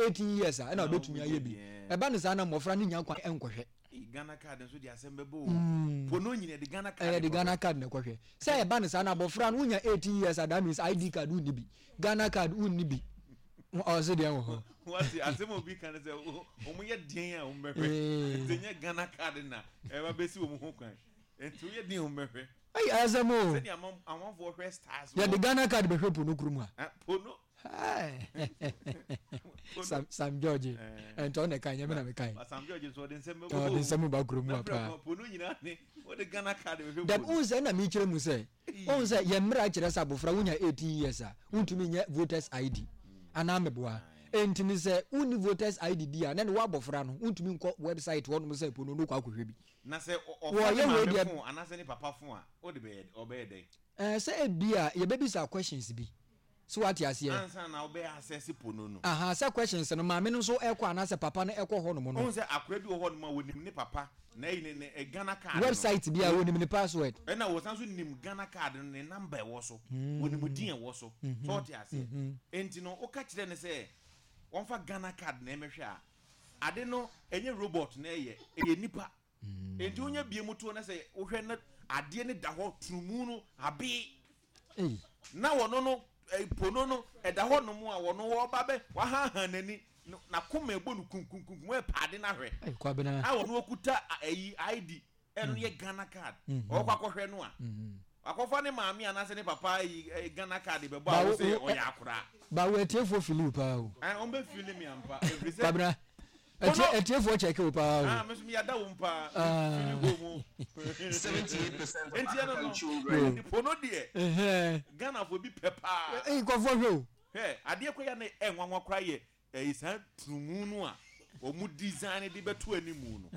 18 years a ɛna wobɛtumi ayɛ bi. Ɛba no saa na mmɔfra no nnya kwan nkɔhwɛ. Ghana card nso de asɛm bɛbɔ o. Pono nyina yɛde Ghana card Yɛde Ghana card na ɛkɔhwɛ. Sɛ ɛba no saa na abɔfra no wonya 18 years a that means ID card wonni bi. Ghana card wonni bi. Ɔse deɛn wɔ hɔ? Wate asɛm a obi ka ne sɛ wɔn yɛ deɛn a wɔn bɛhwɛ. Nti ɛnyɛ Ghana card na ɛba bɛsi wɔn ho kwan. Nti woyɛ deɛn a wɔn bɛhwɛ. Ɛyɛ asɛm o. Sɛdeɛ amanfoɔ hwɛ stars. Yɛde Ghana card bɛhwɛ pono kurom ha. Pono. Sam Sam George ɛntɔ na ɛka nyɛ mi na mi ka yi. Sam George nso ɔde nsɛm bɛ ɔde nsɛm ba kurom wa paa. Pono nyinaa ne ɔde Ghana card bɛhwɛ pono. Dɛm n sɛ ɛna mi kyerɛ mu sɛ ɔn sɛ yɛn mmerɛ kyerɛ sɛ abofra wonya 18 years a wontumi nyɛ voters ID anaa meboa enti ne sɛ wonni voters ID di a na ne wɔ abɔfra no wontumi nkɔ website hɔnom sɛ pono no kɔ akɔhwɛ bi. Na sɛ ɔfa ne maame fon anaasɛ ne papa fon a ɔde bɛyɛ ɔbɛyɛ dɛn? Ɛɛ sɛ ebi a yɛbɛbisa questions bi. So wate aseɛ? Ansa na wobɛ access pono no. Ahaa, sɛ questions no, maame no nso ɛkɔ anaasɛ papa no ɛkɔ hɔ nom no. Wohu sɛ akora bi wɔ hɔ nom a wɔnim ne papa na ɛyi ne ne Ghana card no. Website bi a wɔnim ne password. Ɛna wɔsan nso nim Ghana card no ne number ɛwɔ so, wɔnim din ɛwɔ so. So wote aseɛ? Enti no woka kyerɛ no sɛ wɔmfa Ghana card na ɛmɛhwɛ a, ade no ɛnyɛ robot na ɛyɛ, ɛyɛ nipa. Enti wonya bie mu toɔ na sɛ wohwɛ na adeɛ no da hɔ turumu no abee. Na wɔno no pono no ɛda hɔ nom a wɔno wɔba bɛ wahaha n'ani n'akoma ɛbɔ no kunkunkunkum ɛpɛ ade no ahwɛ a wɔno okuta ɛyi ID ɛno yɛ Ghana card ɔkɔ akɔhwɛ no a wakɔfa ne maame anaasɛ ne papa ayi Ghana card bɛbɔ a wɔsɛ ɔyɛ akora. Ba wo atiefoɔ fili wo paa o. Wɔn bɛ fili mi ampa ɛfiri sɛ. Kwabena Ɛtie ɛtiefoɔ kyɛke wo paa o. Ah me nso me yada wo paa. Fili hɔ mu. 78% of Nti ɛno African no children. Pono deɛ Ghanafoɔ bi pɛ paa. Ee nkurɔfoɔ hwɛ o. Hwɛ adeɛ koraa yɛ na ɛnwanwa koraa yɛ ɛyi saa tunumu no a wɔn design de bɛto animu no.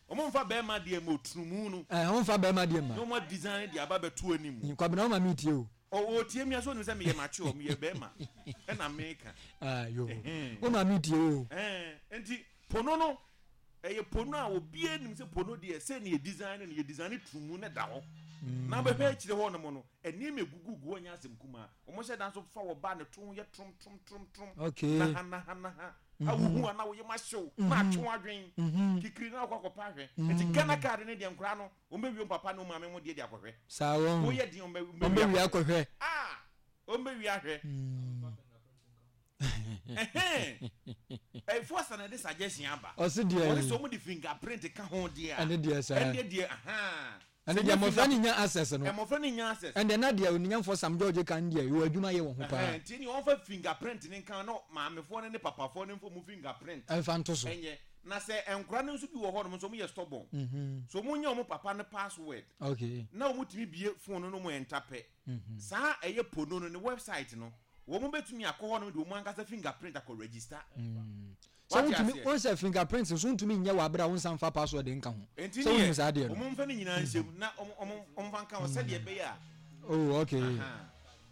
Wɔn nfa bɛrima deɛ ma otunumu no. Ɛɛ wɔn nfa bɛrima deɛ ma. Na wɔn design de aba bɛto animu. Kwabena wɔn ma mi tie o. Ɔ ɔtie me a sɛ ɔnim sɛ meyɛ mature meyɛ bɛrima ɛna meka. Ah yoo wo maame tie o. Ɛɛ nti pono no ɛyɛ pono a obiara nim sɛ pono deɛ sɛ ne yɛ design no yɛ design tumu na da hɔ na bɛhwɛ akyire hɔ nom no nneɛma egugu gu hɔ nyɛ asɛm kumaa wɔn hyɛ dan so fa wɔ ba ne to yɛ trom trom trom trom okay naha naha naha a wohu a na woyɛ ma hyew na atwe adwen kikiri na akɔ akɔpa ahwɛ nti Ghana card ne deɛ nkoraa no Wɔn bɛ wie wɔn papa ne wɔn maame ho deɛ de akɔhwɛ. Saa wɔn. Wɔyɛ den wɔn bɛ wɔn bɛ wie akɔhwɛ. Ah wɔn bɛ wie ahwɛ. Ɛhɛn ɛfo asa na ɛde suggestion aba. Ɔsi deɛ. Wɔn sɛ wɔn de fingerprint ka ho deɛ a. Ɛne deɛ saa. Ɛne deɛ ahan. Ɛne deɛ mmɔfra ne nya access no. Mmɔfra ne nya access. Ɛnde na deɛ oninyamfoɔ Sam George kan deɛ yɛ adwuma yɛ wɔn ho paa. Nti ne wɔn fa fingerprint ne nka na maamefoɔ ne ne papafoɔ ne nfa mu fingerprint. Ɛnfa nto so. Ɛnyɛ. Na sɛ nkora no nso bi wɔ hɔnom nso wɔyɛ stubborn. So wɔn nya wɔn papa no password. Okay. Na wɔn tumi bie phone no na wɔn enter pɛ. Saa ɛyɛ pono no ne website no wɔn bɛtumi akɔ hɔnom de wɔn ankasa fingerprint akɔ register. Sɛ wontumi wɔn sɛ fingerprint nso wontumi nyɛ wɔ abere a wɔn nsa nfa password nka ho. Nti Sɛ wonim saa adeɛ no. wɔn nfa ne nyinaa nhyɛ mu na wɔn wɔn wɔn nfa nka ho sɛdeɛ ɛbɛyɛ a. Oh okay.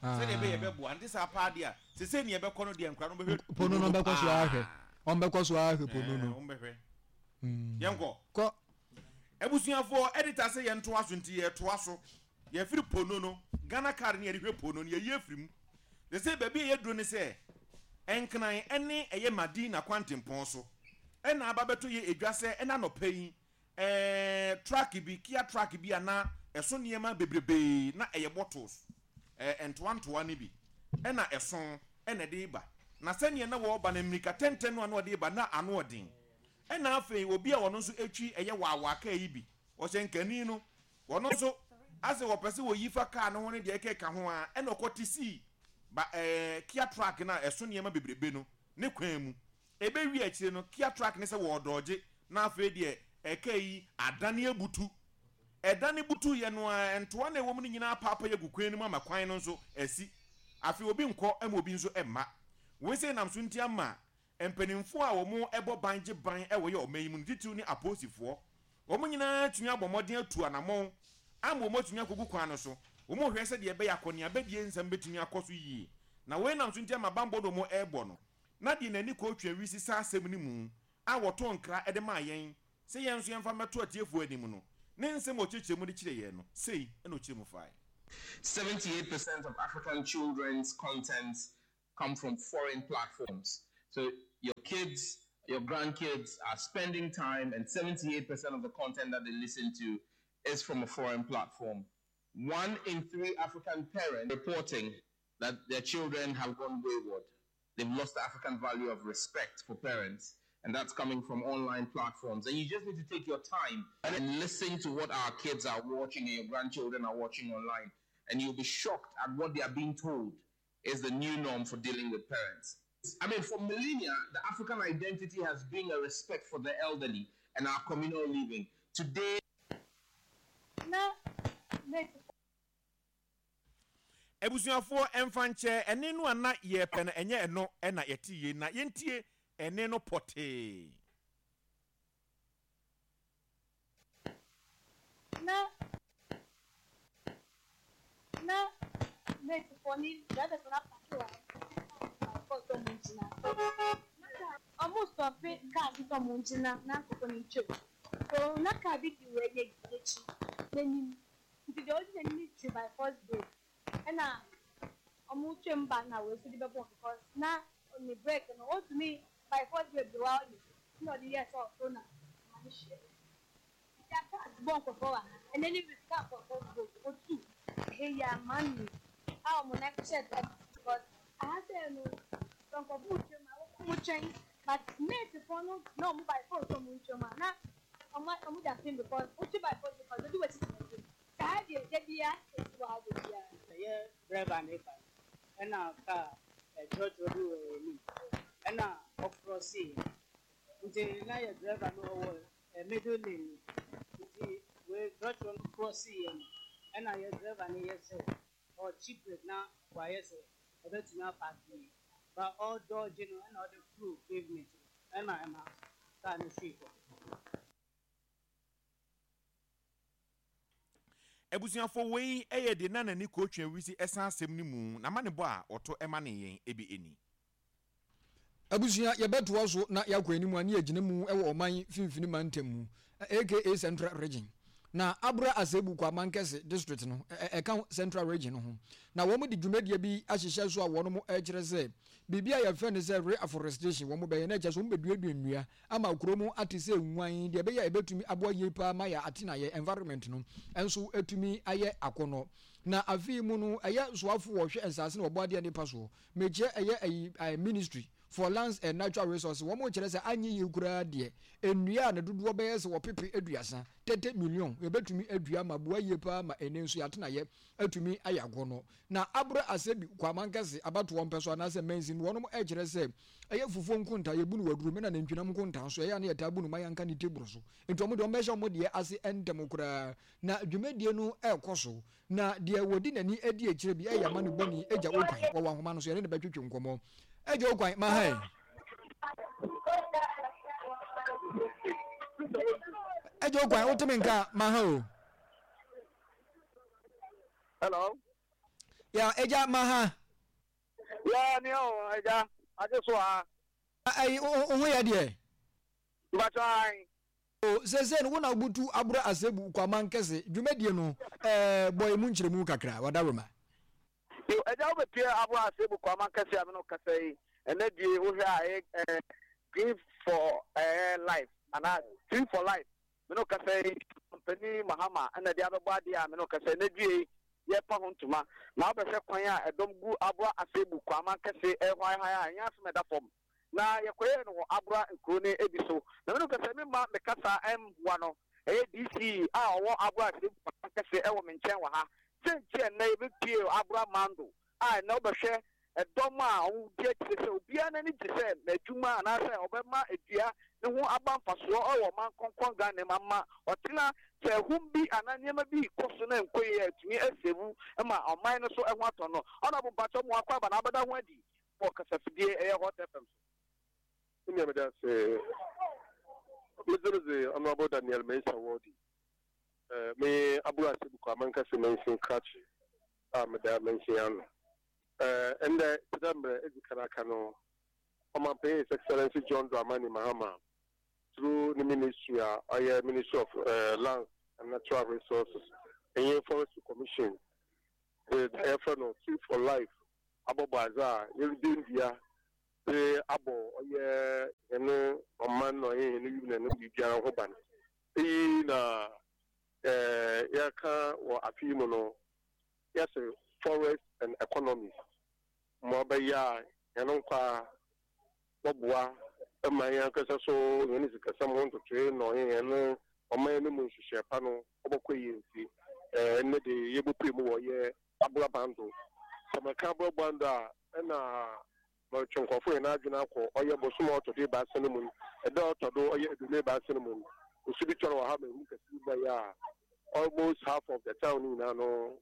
Sɛdeɛ ɛbɛyɛ ɛbɛboa nti saa paa deɛ a sese nea ɛbɛkɔ no deɛ nkora no bɛhwɛ pono no bɛkɔ so ahwɛ. Wɔn bɛkɔ so ara ahwɛ pono no. Wɔn bɛhwɛ. Yɛnkɔ. Kɔ. Abusuafoɔ, editor sɛ yɛntoa so nti yɛtoa so. Yɛfiri pono no, Ghana card no yɛde hwɛ pono no, yɛyi afiri mu. Sɛsɛ baabi a yɛaduro ne sɛ, Nkran ne ɛyɛ Madina kwantempɔn so ɛna aba bɛtɔ yɛ edwa sɛ ɛna anɔpa yi Ɛɛ truck bi, Kia truck bi a na ɛso nneɛma bebrebee, na ɛyɛ bottles, ɛɛ ntoa ntoa no bi na ɛso na ɛde reba. Na sɛdeɛ na wɔreba no, mmirika tɛntɛn no a na ɔde reba no, na ano ɔden. Ɛna afei obi a ɔno nso twi ɛyɛ waawaa kaa yi bi, ɔhyɛ nkani no, ɔno nso asɛ wɔpɛ sɛ wɔyi fa kaa no ho ne deɛ ɛkeka ho ara, ɛna ɔkɔte sii ba ɛɛ Kia truck no a ɛso nneɛma bebrebe no ne kwan mu. Ɛbɛwie akyire no, Kia truck no sɛ wɔredɔɔgye na afei deɛ ɛkaa yi adane abutu. Ɛdane butuiɛ no ara, ntoa no a ɛwɔ mu no nyinaa apaapae agu kwan no mu ama kwan no nso asi. Afei obi nkɔ ma obi nso mma. Wei sei nam so nti ama mpanimfoɔ a wɔbɔ ban gye ban wɔ yɛ ɔman yi mu no, titiriw ne apolisifoɔ, wɔn nyinaa atumi abɔ mmɔden atu anammɔn ama wɔatumi akɔgu kwan no so. Wɔrehwɛ sɛdeɛ ɛbɛyɛ akɔneabadie nsɛm bɛtumi akɔ so yie. Na wei nam so nti ama banbɔ no wɔrebɔ no. Na deɛ n'ani kɔɔ Twawisi saa asɛm no mu a wɔtoo nkra de maa yɛn sɛ yɛn nso yɛmfa mmɛto atiefoɔ anim no, ne nsɛm a ɔkyerɛkyerɛɛ mu de kyerɛɛ yɛn no, sei na ɔkyerɛ mu faeɛ. 78% of African children's content come from foreign platforms. So your kids, your grandkids are spending time, and 78% of the content that they listen to is from a foreign platform. One in three African parents reporting that their children have gone wayward. They've lost the African value of respect for parents, and that's coming from online platforms. And you just need to take your time and listen to what our kids are watching and your grandchildren are watching online. And you'll be shocked at what they are being told is the new norm for dealing with parents. I mean, for millennia, the African identity has been a respect for the elderly and our communal living. Today, Abusuafoɔ ɛmfa nkyɛ, ɛnne no a na yɛrepɛ no, ɛnyɛ ɛno na yɛte yei, na yɛntie ɛnne no pɔtee. Na na matefoɔ ne drivers no apake wɔ ha kɔ sɛ ɔmo ngyina na kaa ɔmo stɔpe cars sɛ ɔmo ngyina na nkorɔfoɔ no ntwam so na car bi di wei n'akyi n'anim nti deɛ ɔdi n'anim no twi by force brake ɛna ɔmo twam ba na wei nso de bɛbɔ because na ne brake no ɔntumi by force brake de wa ɔyɛ ɛna ɔde yɛɛ sɛ ɔforo na ɔma no hyia nti aka bɔ nkorɔfoɔ wɔ ha ɛnɛ ne week kaa nkorɔfoɔ bɔ otu ɛhɛ yi a man a ɔmo nan kɔhyɛ drivers because aha sɛ no sɛ nkorɔfoɔ twam a ɔmo twɛn but mate foɔ no na ɔmo by force ɔmo ntwam a na ɔmo ɔmo da pin because wotwi by force because odi w'akyi tena anim saa deɛ da biara esi wɔ ha da biara. Ɛyɛ driver ne ba ɛna kaa trɔtrɔ bi wɔ yɛn anim ɛna ɔkrɔsee nti na yɛ driver no ɔwɔ middle lane no nti wei trɔtrɔ no krɔsee yɛ no ɛna yɛ driver no yɛ sɛ ɔkye brake na wayɛ sɛ ɔbɛtumi apaake yie ba ɔdɔɔgye no ɛna ɔde foro pavement no ɛna ɛma kaa no hwii fam. Abusuafoɔ wei yɛ deɛ na nani kotwa wisi ɛsan asɛm no mu na amanebɔ a ɔto ma ne yɛn bi ni. Abusua, yɛbɛtoa so na yɛakɔ anim a ne yɛgyina mu wɔ ɔman finfini mantam mu, aka Central Region. Na Abura Asebu Kwamankɛse District no, ɛka Central Region no ho. Na wɔn de dwumadie bi ahyehyɛ so a wɔn rekyerɛ sɛ biribi a yɛfrɛ no sɛ re-afforestation wɔn bɛyɛ na ɛkyerɛ sɛ wɔn bɛduadua nnua ama kuro mu ate sɛ nwan deɛ ɛbɛyɛ a ɛbɛtumi aboa yie paa ma yɛ atenaeɛ, environment, no nso atumi ayɛ akɔnnɔ. Na afe yi mu no ɛyɛ soafo wɔhwɛ nsaase na wɔbɔ adeɛ nnipa soɔ Mekyerɛ ɛyɛ ayi ayi ministry for lands and natural resources wɔn kyerɛ sɛ anyɛ yie koraa deɛ nnua a ne dodoɔ bɛyɛ sɛ ɔpepe aduasa, 30 million, yɛbɛtumi adua ama aboa yie paa ma ɛnɛ nso yɛatenayɛ atumi ayɛ agɔnɔ. Na abrɛ asɛ bi kɔ amankɛse abatoɔ mpɛso anaasɛ mansin wɔnom ɛkyerɛ sɛ ɛyɛ fufuo nkontaa yɛbu no wɔ adurom ɛna nantwinam nkontaa nso ɛyɛ a na yɛtaa bu no ma yɛnka ne teburu so nti wɔn deɛ wɔn bɛhyɛ wɔn deɛ ase ntɛm koraa na dwumadie no ɛrekɔ so. Na deɛ wɔdi n'ani adi akyire bi yɛ amanebɔni Agya Okwan. Wɔwɔ ahoma no so, yɛne no bɛtwetwe nkɔmmɔ. Agya Okwan, ma ha ɛ. Agya Okwan, wote me nka ma ha o. Hello. Ya, Agya, ma ha. Ya, ni o, Agya, agye so ha. Ayi, wo ho yɛ deɛ? Mpakyɛ ae. O, seesei no wo na wobutu Abura Asebu Kwaman Kɛse dwumadie no, ɛɛ, bɔ emu nkyerɛmu kakra, Wadaroma. Yo, Agya wobɛpue Abura Asebu Kwaman Kɛse a me ne wo kasa yi, ɛnɛ die wohwɛ a ɛyɛ ɛɛ Green for ɛɛ Life anaa Tree for Life, me ne wo kasa yi, Ɔmampanin Mahama na ɛde abɛbɔ adeɛ a me ne wo kasa yi, ɛnɛ due yi yɛrepa ho ntoma, na wobɛhwɛ kwan a ɛdɔm gu Abura Asebu Kwaman Kɛse ɛrehwaehwae a ɛnyɛ asɛm a ɛda fam. Na yɛkɔyɛɛ no wɔ Abura nkuro no bi so. Na me no kasa me mma me kasa mmoa no. Ɛyɛ DC a ɔwɔ Abura Asɛmfua kɛse wɔ me nkyɛn wɔ ha. Sɛ nti a nnɛ yɛbɛpue Abura Mando a nnɛ wobɛhwɛ ɛdɔm a wɔdi akyire sɛ obiara n'ani gye sɛ n'adwuma anaasɛ ɔbɛma dua ne ho aba mfasoɔ wɔ ɔman kronkron Ghana mu ama ɔtena sɛ ahum bi anaa nneɛma bi rekɔ so na ɛnkɔ yie a ɛtumi asɛvu ma ɔman no so ho atɔ no. Honourable mpakyɛw mo akɔ aba na abɛda ho adi wɔ kasafidie ɛyɛ Hot FM so. Me nua meda ase. Me dzin dze Honourable Daniel Mensah Worthy. Me Abura Asebuku Amankɛse Mansin Krakye a meda mansin ano. Ndɛ tse dɛ mbrɛ edzi kan aka no, Ɔmampanyin His Excellency John Dramani Mahama through ne ministry a ɔyɛ Ministry of Lands and Natural Resources nye Forestry Commission dze dza yɛfrɛ no Tree for Life abɔbɔ adze a yɛrudua ndua. dze abɔ ɔyɛ hɛn ɔman na ɔyɛ hɛn wimu na hɛn biribiara ho ban. Iyi na yɛreka wɔ afe yi mu no, yɛse Forest and Economy, ma ɔbɛyɛ a hɛn nkwa bɔboa ma hɛn ankasa so hɛn sikasɛm ho ntotoe na ɔnye hɛn ɔman no mu nhyehyɛɛ pa no ɔbɔkɔ yie ntsi, ndɛ de yebopue mu wɔ ɔyɛ aboraban do. Sɛ meka aboraban do a, nna morotwe nkorɔfo hɛn adwen akɔ ɔyɛ bosoom a ɔtɔ do ebiasa no mu no, da a ɔtɔ do ɔyɛ 23 no mu no, osu bi tɔr wɔ ha ma ehum kɛse bi bae a almost half of the town no nyina no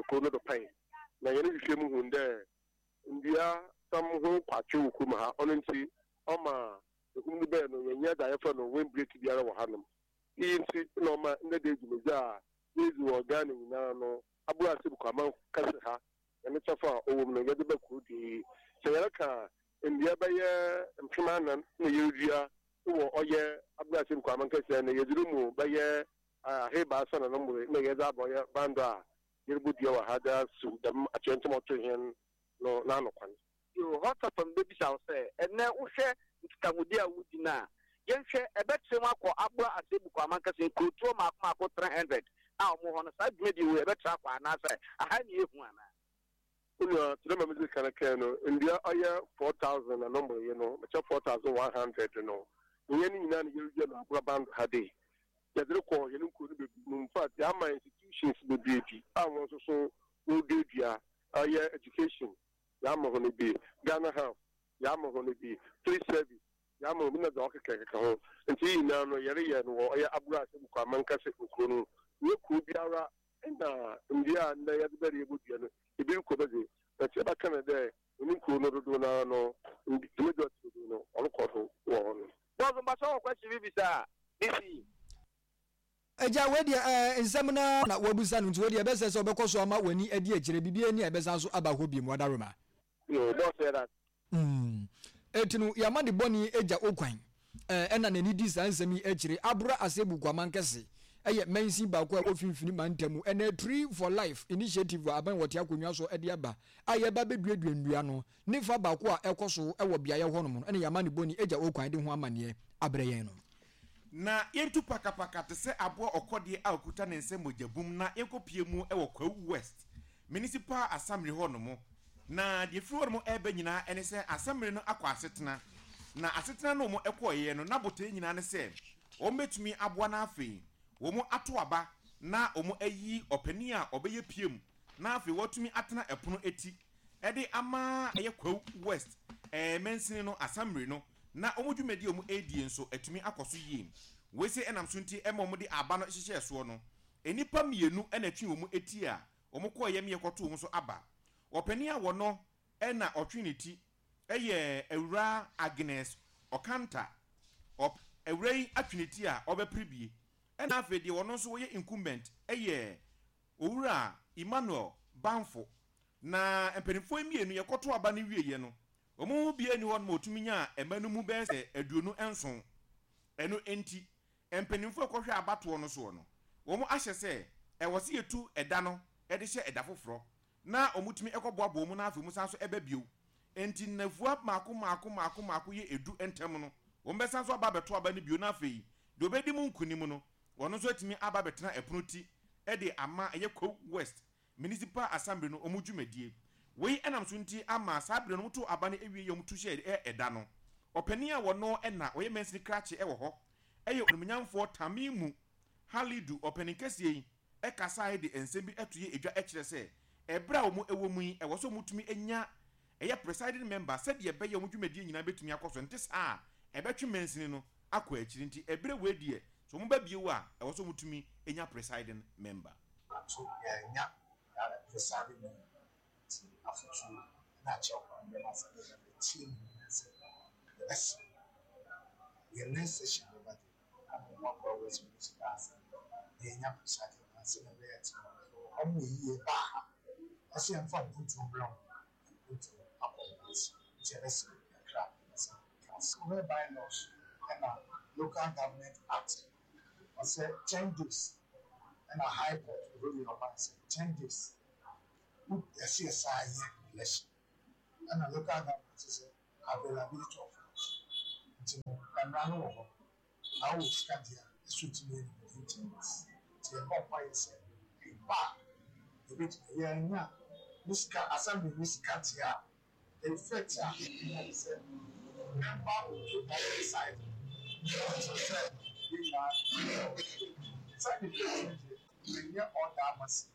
kurow no do pae. Na hɛn nhwehwɛmu hun dɛ ndua sam ho kwatwe wɔ kurom ha, ɔno ntsi ɔma ehum no bae no yɛnnyɛ dza yɛfrɛ no wind break biara wɔ hanom. Iyi ntsi na ɔma ndɛ da yi dwumadzi a yedzi wɔ Ghana nyina no abor ase kɔ aman kɛse ha na ne kyɛfa a ɔwɔ mu no yɛdze ba kurow dua yi. Sɛ yɛreka a, ndua bɛyɛ 4000 na yerudua wɔ ɔyɛ abor ase kɔ aman kɛse ha na yɛdze no mu bɛyɛ ahaebiasa na no mboree na yɛdze aba ɔyɛ bando a yerubodua wɔ ha dze asiw dɛm atoyerɛnkyɛm a ɔtoo hɛn no n'ano kwan. Yo, Hot FM bɛbisa wo sɛ, ɛnnɛ wohwɛ nkitahodi a wodi no a, yɛnhwɛ, ɛbɛtrɛ mu akɔ aboa Asebu Kwamankɛse nkurotoɔ mmaako mmaako 300 a wɔwɔ hɔ no, saa dwumadie wei ɛbɛtrɛ akɔ anaasɛ aha ne yɛhu anaa? Onua, tse dɛ ma medzi kan kãe no, ndua ɔyɛ 4,000 na no mboree no, mekyɛ 4,100 no, nnyɛ ne nyina na yerudua no aborɔban do ha dei. Yɛdze rokɔ hɛn nkurow no bebree mu, infact yɛama institutions bebree bi a hɔn so so woruduadua, ɔyɛ education, yɛama hɔn bi, Ghana Health, yɛama hɔn bi, Police Service, yɛama hɔn bi na dza ɔkekakeka ho. Ntsi iyi nyina no yɛreyɛ no wɔ ɔyɛ Agorɔ Ahyɛmu Kwamankɛse nkurow no mu. Nnyɛ kurow biara na ndua a ndɛ yɛdze bɛreyɛ ebodua no, bi rokɔ mu dze, but yɛbɛka no dɛ hɔn nkurow no dodow no ara no, dwumadzi a ɔtse do no, ɔrokɔ do wɔ hɔ no. Boss mpakyɛw wɔ question bi bisa a mesi. Agya, wei deɛ ɛɛ nsɛm no ara na woabisa no nti wei deɛ ɛbɛsɛ sɛ wobɛkɔ so ama w'ani adi akyire, biribiara nni a ɛbɛsan so aba hɔ biom, Wadaroma. Yoo, boss yɛda ase. Mm. Enti no, yɛama ne bɔne agya okwan, ɛɛ ɛna n'ani di saa nsɛm yi akyire. Abra Asebu Kwaman Kɛse yɛ mansin baako a ɛwɔ Finfini mantam mu. Ɛna Tree for Life Initiative a aban wɔte akonnwa so de aba a yɛreba abɛduadua nnua no ne fa baako a ɛkɔ so wɔ beaeɛ hɔnom no ɛna yɛama ne bɔne agya okwan de ho amanneɛ abrɛ yɛn no. Na yɛntu pakapaka te sɛ aboa ɔkɔdeɛ a ɔkuta ne nsa mogya bum na yɛnkɔpue mu wɔ Kwawu West Municipal Assembly hɔ nom. Na deɛ ɛfiri hɔ nom reba nyinaa ne sɛ Assembly no akɔ asetena. Na asetena no wɔn kɔeɛ no na botaeɛ nyinaa ne sɛ wɔn bɛtumi aboa na afei wɔn ato aba na wɔn ayi ɔpanin a ɔbɛyɛ piem na afei watumi atena ɛpono ti de ama ɛyɛ Kwawu West mansini no Assembly no na wɔn dwumadi a wɔredie nso atumi akɔ so yie. Wei sei ɛnam so nti ma wɔde aba no hyehyɛɛ soɔ no, nnipa mmienu na ɛtwee wɔn ti a wɔkɔeɛ meɛ kɔtoo wɔn so aba. Ɔpanin a wɔno na ɔtwe ne ti yɛ Awuraa Agnes Okanta. Ɔp Awuraa yi atwe ne ti a ɔbɛpere bie. Ɛna afei deɛ ɔno nso ɔyɛ incumbent yɛ Owura Emmanuel Bamfo. Na mpanimfoɔ yi mmienu yɛkɔtoo aba no wieeɛ no, Wɔn mu biara nni hɔnom a otumi nyaa mma no mu bɛyɛ sɛ 27. Ɛno nti, mpanyimfo a wɔkɔhwɛ abatoɔ no soɔ no, wɔahyɛ sɛ ɛwɔ sɛ yɛtu ɛda no de hyɛ ɛda foforɔ na wɔtumi kɔboaboa mu na afei wɔsan nso ba bio. Enti nnafua mmaako mmaako mmaako mmaako yɛ du ntam no, wɔbɛsan nso aba abɛto aba no bio na afei deɛ ɔbɛdi mu nkonim no, ɔno nso atumi aba abɛtena ɛpono ti de ama ɛyɛ Kwawu West Municipal Assembly no wɔn dwumadie. Wei nam so nti ama saa berɛ no wɔtoo aba no awieɛ a wɔtu hyɛɛ ɛda no. Ɔpanin a wɔno na ɔyɛ mansini krakye wɔ hɔ yɛ Onimuonyamfoɔ Tamimu Halidu. Ɔpanin kɛseɛ yi kasaeɛ de nsɛm bi to yɛ dwa kyerɛ sɛ ɛberɛ a wɔn wɔ mu yi ɛwɔ sɛ wɔtumi nya ɛyɛ presiding member sɛdeɛ ɛbɛyɛ wɔn dwumadie nyinaa bɛtumi akɔ so nte saa a ɛbɛtwe mansini no akɔ akyiri nti ɛberɛ wei deɛ sɛ wɔn ba bio a ɛwɔ sɛ wɔtumi nya presiding member. Ato yɛannya presiding member nti afotuo ne akyerɛw kwan bɛma sɛ yɛbɛtie mu ne sɛ yɛbɛsrɛ yɛn next session bɛba deɛ ama wɔn akɔ West Municipal Assembly na yɛanya presiding member sɛdeɛ ɛbɛyɛ a team no wɔn wɔ yie baa ha ɛsɛ yɛmfa mpuntuo mbrɛ wɔn mpuntuo akɔ wɔn akyi nti yɛbɛsrɛ kakra sɛ council whereby laws ɛna local government act ɔsɛ 10 days ɛna high court ruling ɔman sɛ 10 days wo ɛsɛ yɛ saa yɛ election, ɛna local government sɛ. Availability of funds nti no, mmara no wɔ hɔ, na wowɔ sika deɛ a, ɛso tumi yɛ no within 10 days. Nti yɛbɔ mpaeɛ sɛ ɛba a, yɛbɛtumi. Yɛannya ne sika, assembly ne sika deɛ a, the effect a ɛnya ne sɛ member will keep on deciding until sɛ yɛn nyinaa yɛbɛyɛ. Side effect no deɛ, ɛnyɛ all that massive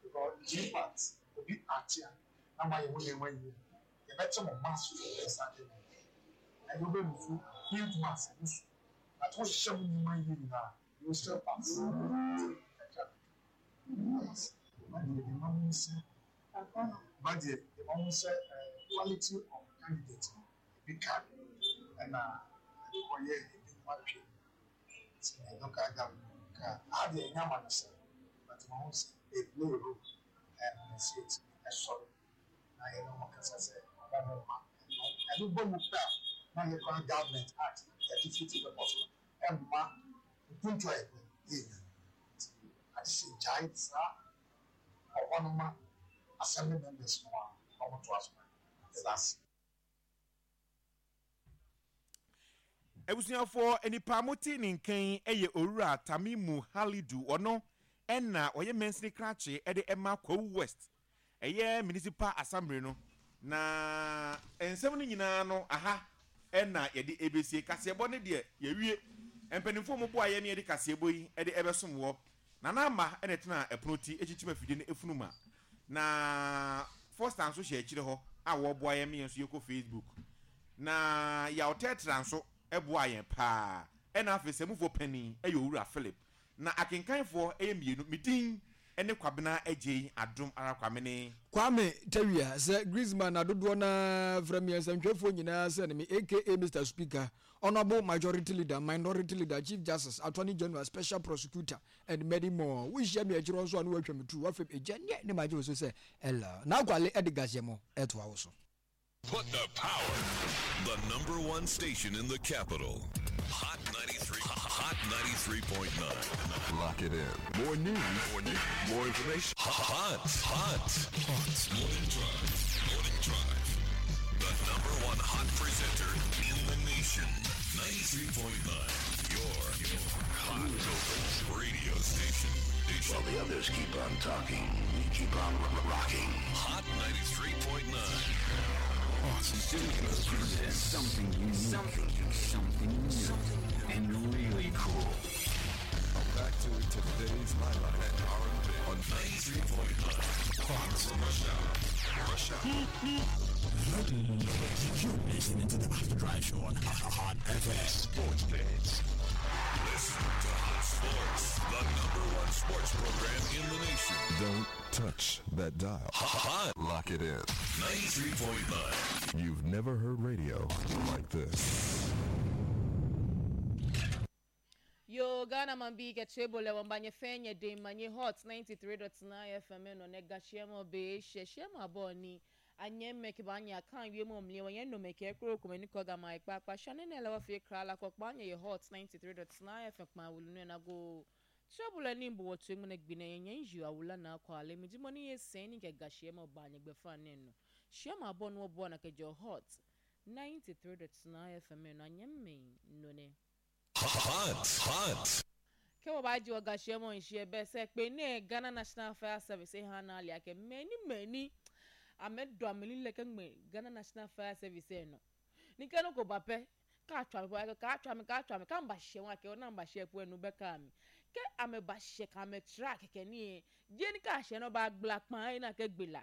because GPAT obi ate a na moayɛ mo nneɛma yie a, yɛbɛte mo mass so ɛsan de no ɛno bɛ move huge mass ɛno so but wohyehyɛ mo nneɛma yie nyinaa a, you will still pass. Nti kakra kakra. Ba deɛ deɛ mahu ne sɛ ba deɛ deɛ mahu sɛ quality of candidate no ebi ka ɛna ɛkɔyɛ ebinom atwe nti local government ka aha deɛ ɛnyɛ amanyɔsɛm but mahu sɛ they play a role ɛna ɛsɛ yɛtumi ɛsɔre na yɛne wɔn kasa sɛ wɔn mo mma ɛno ɛno bɔ mu pɛ a na yɛ koraa government act yɛde fiti purpose no ɛmma mpuntu a yɛpɛ yɛnya nti agye sɛ gyae saa ɔhɔ no ma assembly members no a na wɔtoa so ma yɛda ase. Abusuafoɔ, nipa a mote ne nka yi yɛ Owura Tamimu Halidu. Ɔno na ɔyɛ mansini krakye de ma Kwawu West, ɛyɛ Municipal Assembly no. Na nsɛm no nyinaa no, aha na yɛde ɛbɛsie. Kaseɛbɔ no deɛ, yɛawie. Mpanimfoɔ a wɔboa yɛn na yɛde kaseɛbɔ yi de ɛbɛsom wɔ. Nana Ama na ɛtenaa ɛpono ti kyinkyim afidie no efunu ma. Na Foster nso hyɛ akyire hɔ a wɔreboa yɛn ma yɛn nso yɛkɔ Facebook. Na Yaw Tɛtra nso boaa yɛn paa. Ɛna afei Samufoɔ panin yɛ Owura Philip. Na akenkanfoɔ yɛ mmienu. Me din ne Kwabena Agyei Adom ara Kwame ne. Kwame Tawia, sɛ Griezmann na dodoɔ no ara frɛ me nsɛntwerɛfoɔ nyinaa sɛ ne me aka Mister Speaker, Honourable Majority Leader, Minority Leader, Chief Justice, Attorney General, Special Prosecutor and many more. Wohyia me akyire hɔ nso a na woatwa me tu, woafrɛ me agya neɛ ne magye wo so sɛ Ella. N'akwale de gaseɛ toa wo so. Put the power. The number one station in the capital. Hot 93, Hot 93.9. Lock it in. More news, more news, more information. Hot, hot, hot. Morning Drive. Morning Drive. The number one hot presenter in the nation. 93.9. Your, your hot radio station. While the others keep on talking, we keep on rocking. Hot 93.9. Hot Studios presents something unique, something unique, something new, something new, and really cool. Back to today's highlight at R&B on 93.9. Hot Rush Hour. Rush Hour. You're listening to the After Drive Show on Hot FM. Sports Page. Listen to Hot Sports, the number one sports program in the nation. Don't touch that dial. Hot. Lock it in. 93.9. You've never heard radio like this. Yo, Ghana man bi ke chebo le wamba nye fenye de manye Hot 93.9 FM no ne gashie mo be she she ma bo ni anye me ke ba nya kan wie mo mle wonye no me ke kro ko me ni ko ga ma ipa pa shane ne le wa fi kra la ko pa nye ye Hot 93.9 FM pa wulu ne na go chebo le ni mbo wotu mu ne gbine nye nju awula na akwa le mi di mo ni ye sen ni ke gashie mo ba nye gbe fa ne no she ma bo no bo na ke jo Hot 93.9 FM no anye me no ne Hot, hot. Ke wo ba ji oga she mo nse be se pe ne Ghana National Fire Service e ha na ali ake many many amedo ameli leke ngbe Ghana National Fire Service e no ni ke no ko ba pe ka twa mi ka twa mi ka twa mi ka mba she won ake na mba she pu enu be ka mi ke ame ba she ka me track ke ni e je ni ka she no ba gbla pan e na ke gbela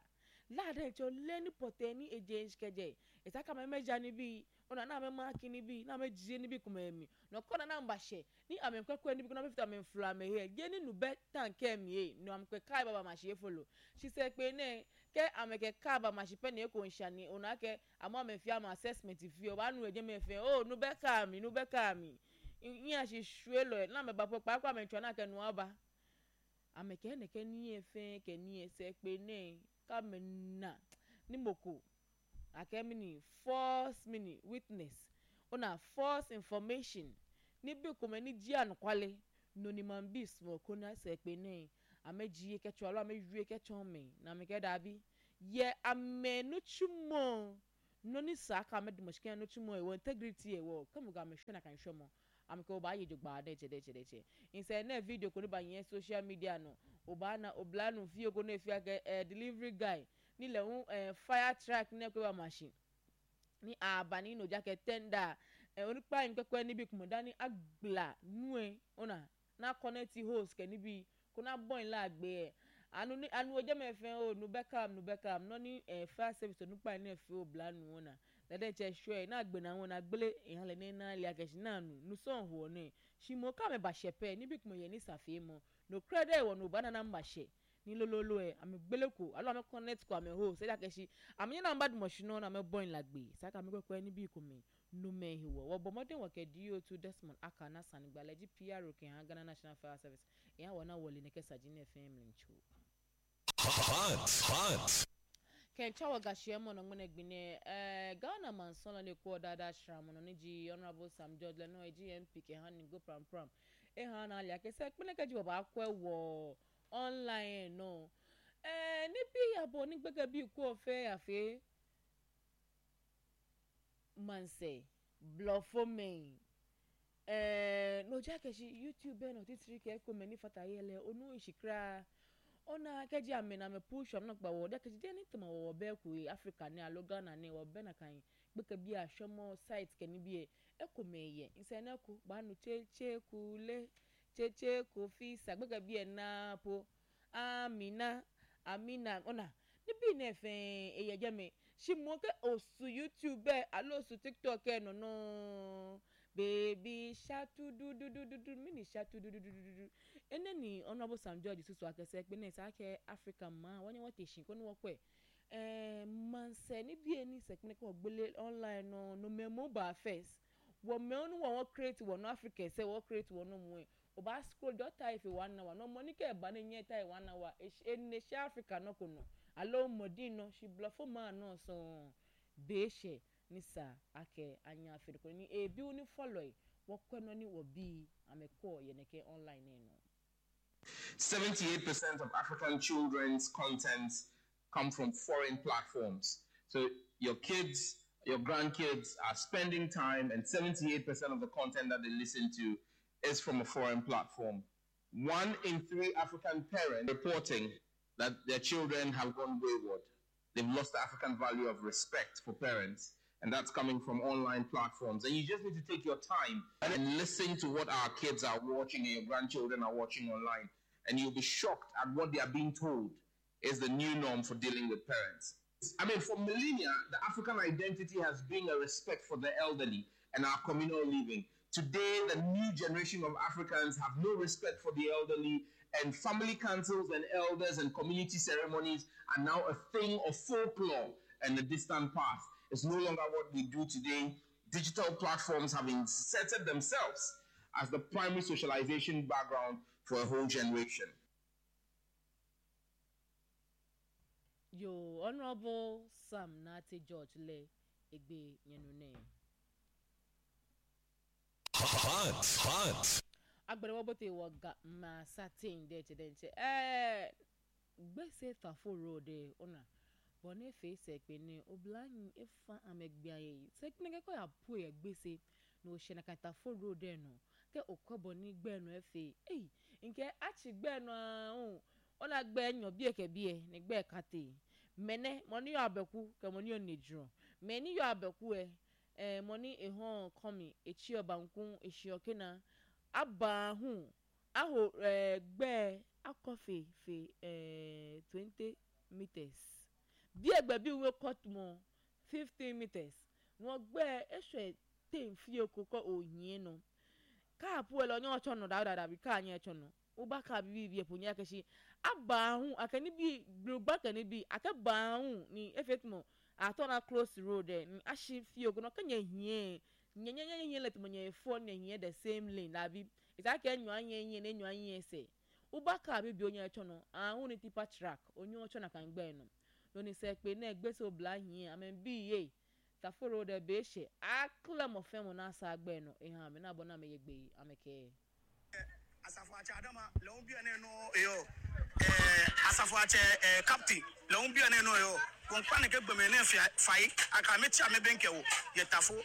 la de cho le ni pote ni eje nkeje etaka me meja ni bi ona na me mark ni bi na me jie ni bi kuma emi no ko na na mba she ni ame kwekwe ni bi na me fita me fla me he je ni nu be tank emi e no am kwe kai baba ma she follow she say pe ne ke ame ke ka ba ma she pe ne ko nsha ni ona ke amo me fia ma assessment fi o ba nu eje me fe o nu be ka mi nu be ka mi yin a she shwe lo na me ba po pa kwa me twa na ke nu aba ame ke ne ke ni e fe ke ni e se pe ne ka me na ni moko ake mini false mini witness ona false information ni bi kome ni ji anukwale no ni man bi small ko na se pe ne ameji ke cho alo amewie ke cho me na me ke da bi ye amenu chumo Noni saa ka ame dumɔ shikɛn no tsi mɔ wɔ integrity wɔ kɛmu ga ame hwɛ na kan hwɛ mɔ ame ke oba ye dzogba ɖe dze ɖe dze ɖe dze nsɛ ne video ko ne ba nyɛ social media no oba na obla nu fie ko ne fia ke delivery guy ni le ŋu fire truck ne ko ba machine ni aba ni no dza ke tender onukpa yi kpekpe ni bi kume da ni agbla nue ona na connect hose ke ni bi ko na bɔin la agbe anu ni anu odze me fɛ o nu bɛkam nu bɛkam nɔni fire service onukpa yi ne fe obla nu ona lɛdɛ tse sɔe na agbe na ŋu na gble ehã le ne na lia kɛse na nu nusɔn ho ne shimo ka me ba hyɛ pɛ ni bi kume yɛ ni safe mɔ no kura dɛ wɔ no ba nana ba hyɛ ni lololo ame gbele ko alo ame connect ko ame ho sɛ kɛse ame nye na ba dumɔsi nɔ na ame bɔin la gbe saka ame kɔkɔɛ ni bi kume nume hi wɔ wɔbɔ mɔden wɔ kɛ do2 Desmond Aka na sanigbalɛ dzi PRO ke hã Ghana National Fire Service ehã wɔ na wɔli ne kɛ sadzi ne fɛn mli ntso. Hot, hot. Kɛntsa wɔ gahyia mu no ŋmene gbine Ghana mansɔn le kɔ dada sram no ne dzi Honourable Sam George le no edzi MP ke hã ni go pram pram ehã na lia kese kpene ke dzi wɔ ba akɔe wɔ online no ne bi abɔ ne gbege bi kɔ fɛ afe manse blɔfo me n'odza kɛse YouTube bɛ na titiri kɛ kome ni fata yɛlɛ onu isikra ɔna kɛdzi ame na ame push am na kpa wɔ dɛ kɛse dɛ ne tɛmɛ wɔ bɛ koe Africa ne alo Ghana ne wɔ bɛ na kan gbeke bi ahwɛmɔ site kɛni bi yɛ ekome yɛ nsɛ ne ko gbanu tsetse kule tsetse kofi sa gbeke bi yɛ na po amina amina ɔna ne bi ne fɛn eyɛ dze me si mo ke osu YouTube bɛ alo osu TikTok yɛ nɔnɔ baby shatu dududududu mini shatu dududududu ene ni Honourable Sam George susu akɛsɛ kpe ne saa kɛ Africa ma wɔnyɛ wɔte si ko ne wɔkɔɛ mansɛ ne bie ni sɛ kpe ne kɛ wɔgbele online no no mɛmo ba first wɔ mɛwo no wɔ wɔ create wɔ no Africa sɛ wɔ create wɔ no mu ɔba scroll dɔ ta efe 1 hour no mɔ ni kɛ ɛba ne nyɛ ta 1 hour ene si Africa no ko no alo mɔdin no si blɔfo maa no sɔn beehyɛ ni sa akɛ anya afei ko ni ebi wo ni follow yi wɔkɔ no ni wɔ bi amekɔ yɛ ne kɛ online ne no. 78% of African children's content come from foreign platforms. So your kids, your grandkids are spending time, and 78% of the content that they listen to is from a foreign platform. 1 in 3 African parents reporting that their children have gone wayward. They've lost the African value of respect for parents, and that's coming from online platforms. And you just need to take your time and listen to what our kids are watching and your grandchildren are watching online, and you'll be shocked at what they are being told is the new norm for dealing with parents. I mean, for millennia, the African identity has been a respect for the elderly and our communal living. Today, the new generation of Africans have no respect for the elderly, and family councils and elders and community ceremonies are now a thing of folklore and the distant past. It's no longer what we do today. Digital platforms have inserted themselves as the primary socialization background for a whole generation. Yo, Honorable Sam Nati George le egbe yenune. Hot, hot. Agbẹ̀rẹ̀wọ̀ bó ti wọ̀ ga ma satin dẹ̀ ti dẹ̀ nkyɛn gbèsè tafo road ọ̀nà bọ̀ ne fe sɛ ne obìnrin efa amẹgbẹ́ ayé yìí sɛ pé kẹ́kọ̀ọ́ yà po yɛ gbèsè na òhyɛ na kan tafo road no kɛ okɔ bɔ ne gbɛ no efe eyi nke akyi gbɛ no ahụ ɔna gbɛ nyɔ bie kɛ bie ne gbɛ kate mɛnɛ mɔni yɔ abɛku kɛ mɔni yɔ neduro mɛni yɔ abɛku ɛ mɔni ehɔn kɔmi etsi ɔbanku esi ɔkena aba hu aho gbɛ akɔ fe fe 20 meters bí ẹgbẹ́ bí wọ́n kọ́ mọ́ 15 meters wọ́n gbẹ́ ẹ̀ṣọ́ ten fie kókó òyìn no káàpù ẹ̀ lọ ní ọ̀tsọ̀ nù dáadáa bí káà nyẹ́ ẹ̀tsọ̀ nù wọ́n káà bíbí bí ẹ̀pọ̀ nyẹ́ akẹ́sí aba hu akẹ́ni bí gbogbo akẹ́ni bí akẹ́bà hu ní efe tuma atɔ na close road ẹ̀ ní ahyi fie kó kẹ́nyẹ́ hìẹ́ nyɛnyɛnyɛ hìẹ́ lɛ tuma nyɛ fɔ nyɛ hìẹ́ the same lane labi ìsàkẹ́ nyɔ anyɛ hìẹ́ ne nyɔ anyɛ sɛ wọ́n káà bíbí onye ẹ̀tsọ̀ nù ahu ní tipa truck onye ọ̀tsọ̀ nà kàn gbẹ́ nù lóní sɛ pé náà gbèsè obìnrin ahìẹ́ àmì bíi yé taforo de bɛhyɛ akla mɔfɛn mu n'asa agbɛ no ehan mi n'abɔ na mɛ yɛ gbɛ yi amɛ kɛ. Asafo akyɛ adama lɛwo bia ne no eyo eh asafo akyɛ eh captain lɛwo bia ne no eyo wɔn kpa ne ke gbeme ne fia fai aka me tia me benke wo yɛ tafo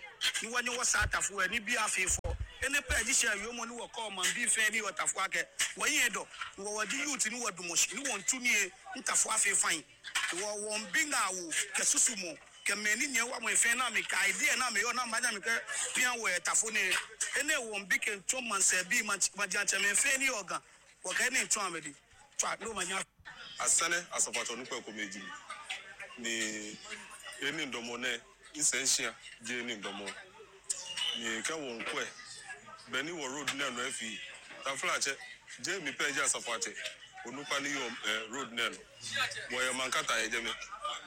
ni wɔ nye wɔ saa tafo ɛ ni bia fe fɔ ene pɛ ji hyɛ yomo ni wɔ kɔ man bi fɛ ni wɔ tafo akɛ wɔ yin dɔ ni wɔ wɔ di youth ni wɔ dumoshi ni wɔn tu ni e ntafo afe fain ni wɔ wɔn bi nga wo kɛ susu mo Kɛ mɛ ni nyɛ wa mɔ efɛn na mi ka idea na mi yɔ na ma nya mi kɛ pia wɔ ɛ tafo ne ene wɔ nbi kɛ ntɔ mansɛ bi ma ma dja nkyɛ mɛ fɛn ni yɔ gan wɔ kɛ ne ntɔ amɛ di twa no ma nya. Asɛnɛ asɔfatɔ nukpɛ ko meji ni eni ndɔmɔ nɛ nsɛ nhyia gye eni ndɔmɔ ni kɛ wɔ nkuɛ bɛ ni wɔ road nɛ no ɛfi taflakyɛ gye mi pɛ gye asafo akyɛ onukpa ni yɔ ɛ road nɛ no. Wɔyɛ mankata yɛ me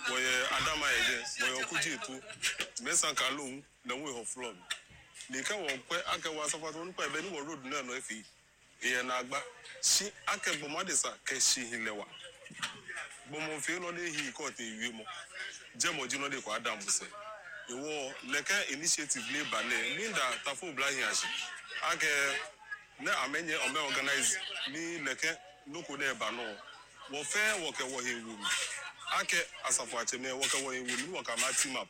wɔyɛ adama yɛ jɛ wɔyɛ ɔkugye etu mɛsan ka lóhun na wɔn ehɔ flɔ mi nìkɛ wɔn pɛ akɛ wɔ asɔfo wọn kɔ ɛbɛ ni wɔ road náà nɔ efi ìyẹn na agba si akɛ gbɔmɔdesa kɛ si hin lɛ wa gbɔmɔfin nɔ de hi kɔɔte ewie mɔ jɛmɔdzi nɔ de kɔ adam sɛ ìwɔ lɛkɛ initiative le ba nɛ mi da tafo bila hin asi akɛ ne ame nye ɔmɛ organize ni lɛkɛ noko ne ba nɔ wɔfɛ wɔkɛ wɔ hin wumi akɛ asafo akyɛmɛ wɔkɛ wɔ hin wumi ni wɔkɛ ama team up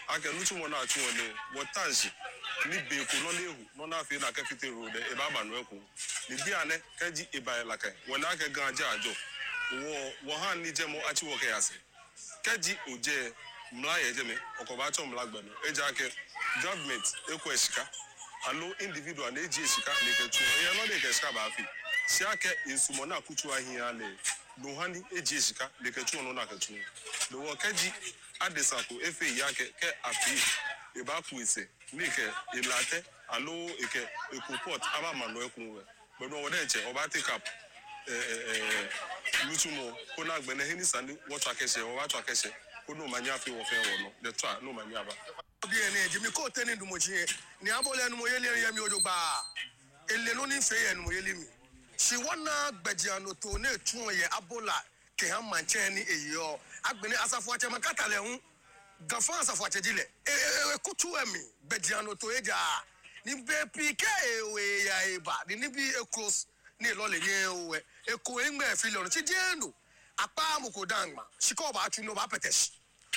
akɛ nutsu wɔ na atsu wɔ ne wɔ tansi ni beeko nɔ ne ehu nɔ na afei na akɛ fite ro dɛ eba aba no ɛko ne bi anɛ kɛdzi eba yɛ lakɛ wɔlɛ akɛ gan dze adzɔ wɔ wɔ hã ni dze mɔ atsi wɔ kɛ yase kɛdzi odze mla yɛ dze mɛ ɔkɔba atsɔ mla gbɛnu edze akɛ government ekɔ esika alo individual ne edzi esika ne kɛ tu eyɛ nɔ de kɛ sika ba afi si akɛ nsumɔ na kutu ahia le nuhani edzi esika ne kɛ tu ɔno na kɛ tu le wɔ kɛdzi adesako efe yi akɛ kɛ afi eba ku ese ne kɛ elatɛ alo eke eko pot aba ma no ekun wɛ gbɛnu ɔwɔ dɛ nkyɛ ɔba take up ɛɛ nutumɔ ko na gbɛnɛ heni sani wɔtɔ akɛhyɛ ɔba tɔ akɛhyɛ ko n'o ma nya afi wɔ fɛn wɔ no de tɔ a n'o ma nya ba. Bi ene jimi ko teni dumochi ni abole nu mo yeli yemi ojo gba ele no ni fe ye nu mo yeli mi si wona gbeji ano to na etun ye abola ke han manche ni eyo agbeni asafo ache makata le hun gafan asafo ache jile e e kutu emi gbeji ano to eja ni be pike ewe ya eba ni ni bi e close ni lo le nye owe e ko engbe fi lo ti je no apa mo ko dangba siko ba tu no ba peteshi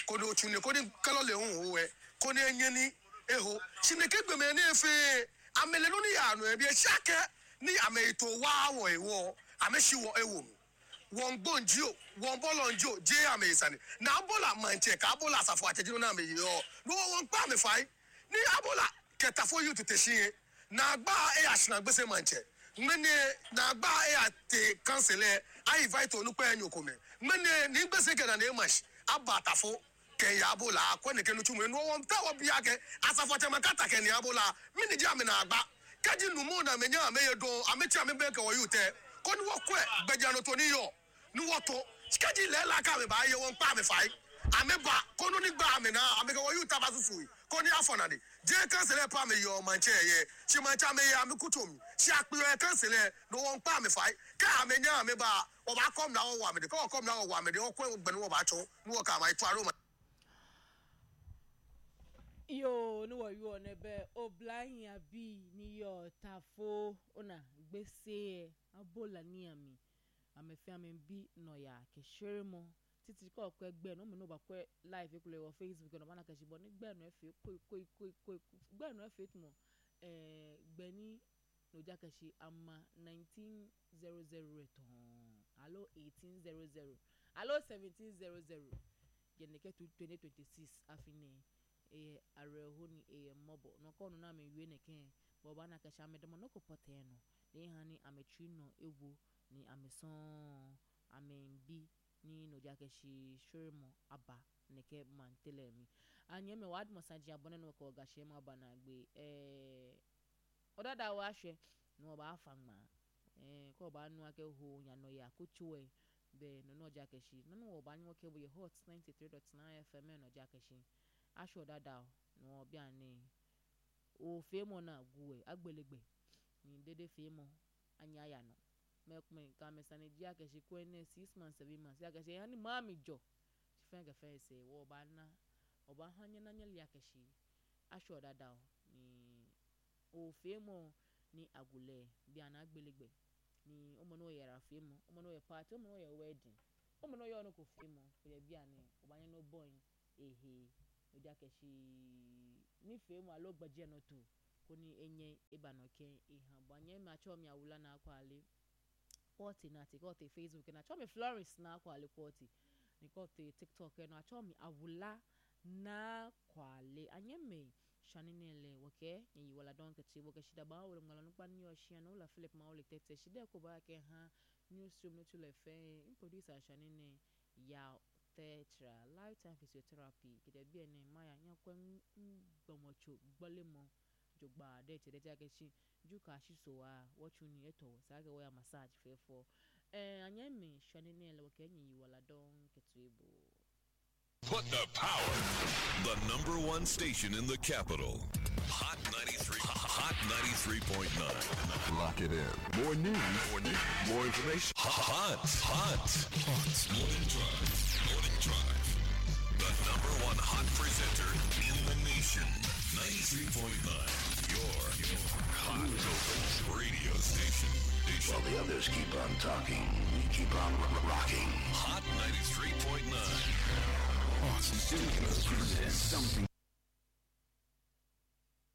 ko no tu ni ko ni kelo le hun owe ko ni enye ni eho sineke gbeme ni efe amele no ni ya no e bi ehake ni ame to wa wo ewo ame si wo ewo mi won gbonji o won bolo nji o je ame isani na abola manche ka abola asafo ateji no na ame yo no won pa me fai ni abola keta for you to teshi na gba e asina gbese manche mene na gba e ate cancel e I invite onukpe enyo kome mene ni gbese ke na na emash abatafo ke ya abola akọ ne kenu tumu no won ta wo bia ke asafo ache makata ke ni abola mini ji ame na agba keji numu na menya ame ye don ame ti ame be ke wo you te ko ni wo kwe gbeja no to ni yo ni wo to keji le la ka me ba ye won pa me fai ame ba ko no ni gba ame na ame ke wo you ta ba susu ko ni afọ na de je cancel pa me yo manche ye si manche ame ye ame kuto mi si ape e cancel no won pa me fai ka ame nya ame ba wo ba kom na wo wa me de ko kom na wo wa me de wo kwe gbenu wo ba cho ni wo ka ma itu aro ma. Yo no wo yo ne be oblahin abi ni yo tafo ona gbese abola ni ami amefe ame bi no ya ke sheremo titi ko ko egbe no me no ba ko live ekule wo Facebook no bana ke shibo ni gbe no efe ko ko ko ko gbe no efe tumo eh gbe ni no ja ke shi ama 1900 eton alo 1800 alo 1700 geneke 2026 afine eye areho ni eye mobo no ko no na me wie ne ken bo ba na ka sha me de mo no ko pote no ni ha ni ametri no ewo ni ameson amembi ni no ja ke shi shoremo aba ne ke mantele mi anye me wad mo saji abone no ko ga she ma ba na gbe eh odada wa hwe no ba afa ngma eh ko ba nu ake ho nya no ya kuchuwe be no no ja ke shi no no ba nwo ke bo ye hot 93.9 FM no ja ke shi aṣọ dada no bia ni o fe mo na guwe agbelegbe ni dede fe mo anya ya no me ka me sani ji akese ko ne 6 months 7 months akese yani mami jo fen ke fen se wo ba na oba hanye na nyeli akese aṣọ dada ni o fe mo ni agulɛ bi ana agbelegbe ni ɔmo no yɛ rafe mu ɔmo no yɛ party ɔmo no yɛ wedding ɔmo no yɛ ɔno kò fe mu kò bi ani ɔbanyɛ no bɔn ehe odi akɛse ni fe mu alo gbadze no to ko ni enye eba no ke eha bɔ anyɛ ma akyɛw mi awula na akɔ ale kɔɔte na ate kɔɔte Facebook na akyɛw mi Florence na akɔ ale kɔɔte ni kɔɔte TikTok no akyɛw mi awula na akɔ ale anyɛ me shani nele wɔkɛ yɛyi wala dɔn kɛtɛ wɔkɛ shida ba wole ŋmala nukpa ni ɔshia no wala Philip ma wole tɛtɛ shida ko ba kɛ ha newsroom no tu le fɛ n producer shani ne ya tetra lifetime physiotherapy kete bi ene maya nyakwe ngbɔmɔtso gbɔlemɔ dzogba ɖe tse ɖe tse dzuka asisoa wɔtsu ni etɔ saa ke wɔya massage fɛfɔ ɛɛ anye mi shani ne le wɔkɛ nyi wala dɔn kɛtɛ bo. Put the power. The number one station in the capital. Hot 93. Hot 93.9. Lock it in. More news. More news. More information. Hot. Hot. Hot. Morning Drive. Morning Drive. The number one hot presenter in the nation. 93.9. Your hot radio station. While the others keep on talking, we keep on rocking. Hot 93.9. Studios presents something.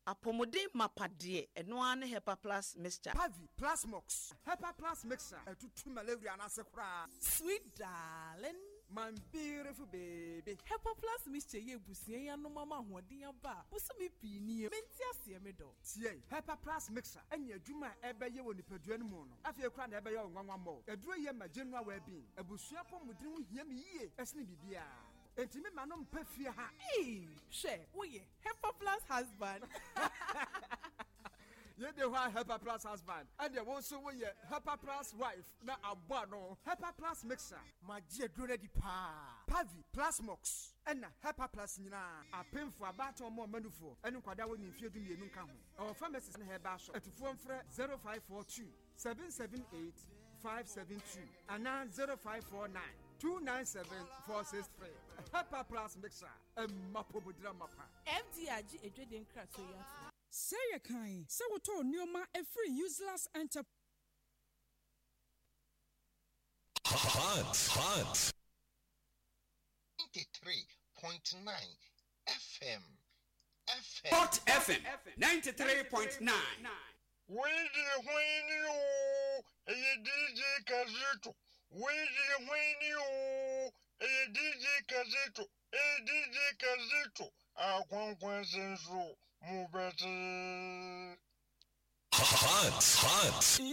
Apɔmuden mapadeɛ ɛno ara ne Hepa Plus Mixture. Pavi, Plasmox, Hepa Plus Mixture, ɛtutu malaria n'ase koraa. Sweet darling. My beautiful baby. Hepa Plus Mixture yɛ ebusua yi anom ama ahoɔden aba a bosome pii nie. Mente aseɛ me dɔ. Tie, Hepa Plus Mixture ɛnyɛ adwuma a ɛbɛyɛ wɔ nipadua no mu no. Afei koraa na ɛbɛyɛ wo nwanwa mmɔ. Aduro yɛ ma general well-being. Abusua pɔmuden ho hia me yie ɛsene biribiara. Enti me ma no mpɛ fie ha. Ee, hwɛ, woyɛ Hepa Plus husband. Yɛde hɔ a Hepa Plus husband. Ɛdeɛ wo nso woyɛ Hepa Plus wife na abɔ ano. Hepa Plus Mixture. Magye aduro no adi paa. Pavi, Plasmox, ɛna Hepa Plus nyinaa. Apemfo, abaatan ɔmo ɔmanufoɔ, ɛne nkwadaa wɔ ne mfeɛ 12 nka ho. Ɛwɔ pharmacies ne herbal shop. Atufoɔ mfrɛ 0542 778 572 anaa 0549 297 463. Hepa Plus Mixture. Ɛmma pomodira mapa. FDA agye edwede nkratoɔ yi ato. Sɛ yɛ kan sɛ wotɔɔ nneɛma ɛfiri Useless Enterprise. Hot. Hot. 93.9 FM. FM. Hot FM 93.9. Wei deɛ hwan ni oo, ɛyɛ DJ Kazito. Wei deɛ hwan ni oo, ɛyɛ DJ Kazito. Ɛyɛ DJ Kazito. Akwankwanse nso, mobɛte. Hot. Hot.